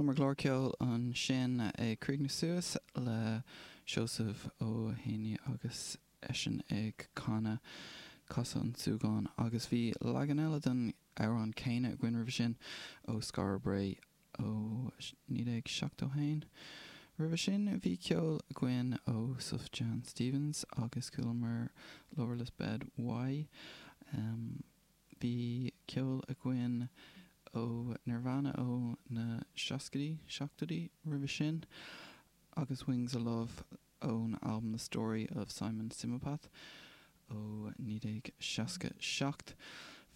Chualamar clár ceoil ansin ag críochnú suas le Seosamh Ó Héanaí agus eisean ag canadh Casadh an tSúgáin agus bhí leagan eile den amhrán céanna againn roimhe sin ó Skara Brae ó 1971. Roimhe sin bhí ceol againn ó Sufjan Stevens agus chualamar Loverless Bed Why. Bhí ceol againn ó Nirvana ó na seascaidí, seachtóidí roimhe sin agus Wings of Love ón albam The Story of Simon Simopath ó 1967.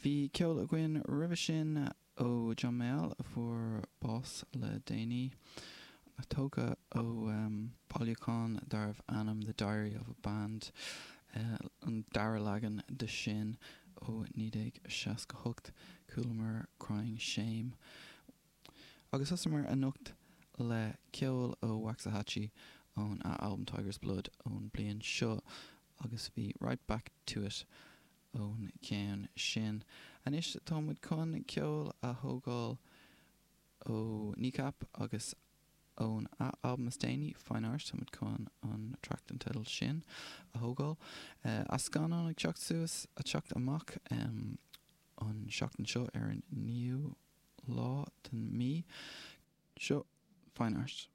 Bhí ceol againn roimhe sin ó John Mayall a fuair bás le déanaí, tógtha ó bailiúchán darbh ainm The Diary of a Band, an dara leagan de sin ó 1968, chualamar Crying Shame. Agus thosaíomar anocht le ceol ó Waxahatchee ón a albam Tiger's Blood ón bliain seo agus bhí Right Back To It ón gceann sin. Anois tá muid chun ceol a thógáil ó Kneecap agus ón a albam is déanaí, Fine Art, tá muid chun an traic den teideal sin a thógáil. As scannán ag teacht suas, ag teacht amach an seachtain seo ar an 9ú lá den mí. Seo Fine Art.